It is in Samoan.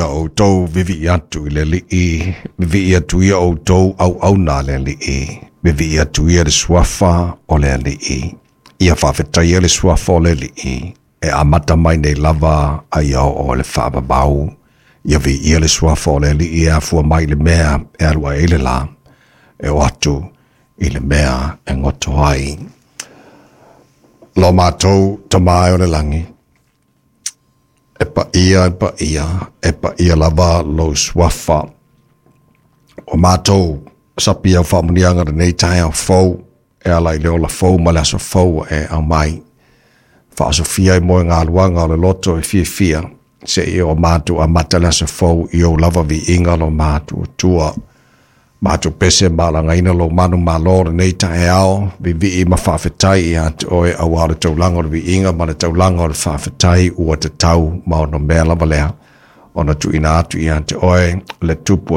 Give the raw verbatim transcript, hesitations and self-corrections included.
outou vivi'i atu i le Alii, vivi'i atu ia outou auauna a le Alii, vivi'i atu ia le suafa o le Alii. Ia faafetaia le suafa o le Alii, e amata mai nei lava a ia oo i le faavavau. Ia viia le suafa o le Alii e afua mai i le mea e alu ae ai le lā, e oo atu i le mea e goto ai. Lo matou Tama e o le lagi, e paia, e paia, e paia lava lou suafa. O matou sapi au faamuniaga lenei taeao fou, e ala i le ola fou ma le aso fou e aumai. Faasofia i moe galuaga o le loto e fiafia, seia o matou amata le aso fou i ou lava viiga lo matou Atua. Matou pese ma alagaina lou manumalo lenei taeao, viivii ma faafetai ia te oe auā o le taulaga o le viiga ma le taulaga o le faafetai ua tatau ma onomea lava lea ona tuuina atu ia te oe le Tupu.